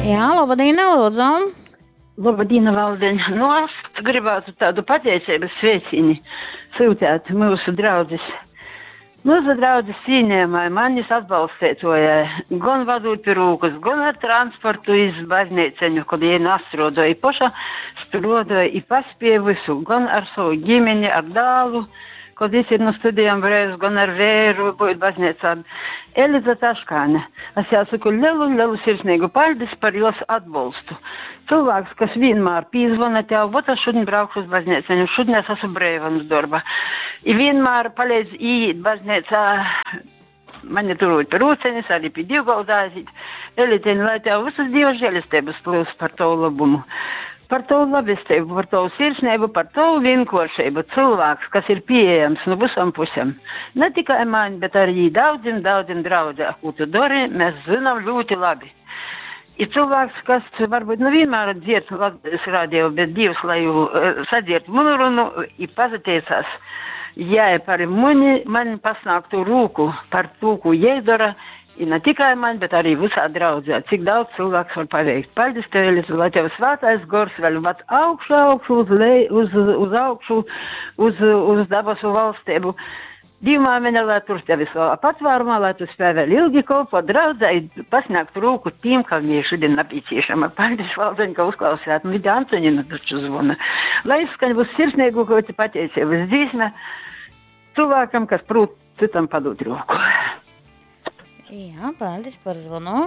Jā, labdien, lūdzu. Labdien, Valdeņ. Nu, es gribētu tādu pateiceibas sveicīni sūtīt mūsu draudzes. Mūsu draudzes cīnījumai, manis atbalstētojai, gan vadot pie rūkas, gan ar transportu iz baznīceņu, kad jie nastrodoja, i poša strodoja, i paspēja visu, gan ar savu ģimeni, ar dālu, kad jis ir no studijām brēs, gan ar vēru, būt baznīcā. Eliza Taškāne. Es jāsaku lielu, lielu sirsnīgu paldies par jos atbalstu. Cilvēks, kas vienmēr pīzvana tev, vot es šodien braukšu uz baznīcu, šodien es esmu brīva no darba. I vienmēr palīdz iet baznīcā, mani turot pie rūceņas, arī pie dievgalda aiziet. Eliteņ, lai tev visas Dieva žēlestības plūst par tavu labumu. Par tavu labestību, par tavu sirsnību, par tavu vienkāršību. Cilvēks, kas ir pieejams no visām pusēm. Ne tikai man, bet arī daudziem, daudziem draudzē, ko tu dari, mēs zinām ļoti labi. Ir cilvēks, kas varbūt nu vienmēr dzird Latvijas radio, bet Dievs, lai jū sadzird manu runu, i pazateicās. Jā, par mani, man pasnāktu rūku par to, ko jai dara, i ne tikai man, bet arī visā draudzē. Cik daudz cilvēks var paveikt. Paldies tev, Eliza, lai tev svētais gors vēl ved augšu, augšu, uz, lej, uz, uz augšu, uz, uz dabasu valstību. Dievmāmiņa, lai tur tevi savā patvārumā, lai tu spēj vēl ilgi kalpot draudzē, pasniegt rūku tiem, kam ir šodien nepieciešama. Paldies, Valdeņ, ka uzklausījāt. Nu, Vidi Antonina taču zvana. Lai izskaņ būs sirsnīgu, ko te pateicības dzīsme cilvēkam, kas prūt citam padot roku. Jā, paldies par zvanu.